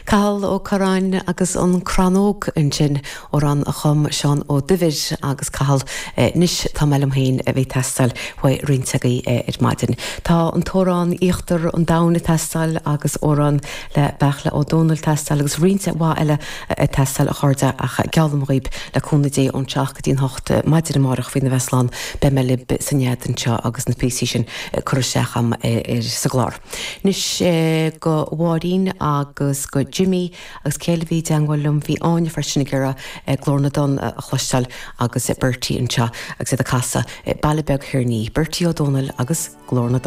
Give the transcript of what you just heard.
Cathal Ó Curráin agus an Crann Óg ansin, amhrán a chum Seán Ó Duibhir agus Cathal, Anois tá mé liom féin a bhí ag teastáil uaidh roinnt agaibh ar maidin. Tá an t-amhrán Íochtar an Domhain ag teastáil agus amhrán le Beartla Ó Domhnaill ag teastáil agus roinnt mhaith eile ag teastáil a chairde ach geallaim dhaoib le cúnamh Dé ón 7 go dtí an 8 maidin amárach faoina bheith slán beidh mé libh san nead anseo agus na píosaí sin curtha isteach a'm sa gclár. Anois go Mháirín agus go Jimmy agus cé eile a bhí i dteangmháil liom, bhí Áine freisin ag iarraidh Glór na dTonn a chloisteáil agus Bertie anseo agus iad ag casadh Baile Beag Thoir Ní, Bertie Ó Dónaill agus Glór na dTonn.